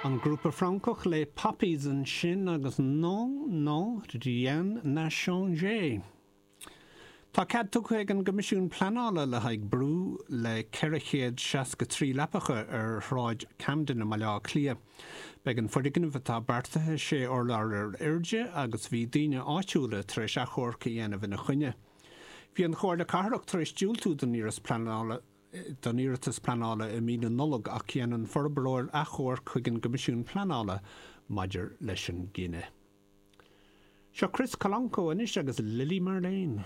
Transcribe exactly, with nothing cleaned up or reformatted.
An grúpa Francach Les Poppies ansin agus Non, non, rien n'a changé. Tá cead tugtha ag an gCoimisiún Pleanála le haghaidh brú le ceithre chéad seasca trí leapacha ar Shráid Camden i mBaile Átha Cliath. Beidh an foirgneamh atá beartaithe sé urlár ar airde agus bhí daoine áitiúla tar éis achomharc a dhéanamh ina choinne. Bhí an Chomhairle Cathrach tar éis diúltú don iarratas pleanála don iarratas pleanála i mí na Nollag ach dhein an forbróir achomharc chuig an gCoimisiún Pleanála maidir leis an gcinneadh. Seo Chris Colonco anois agus Lily Marlene.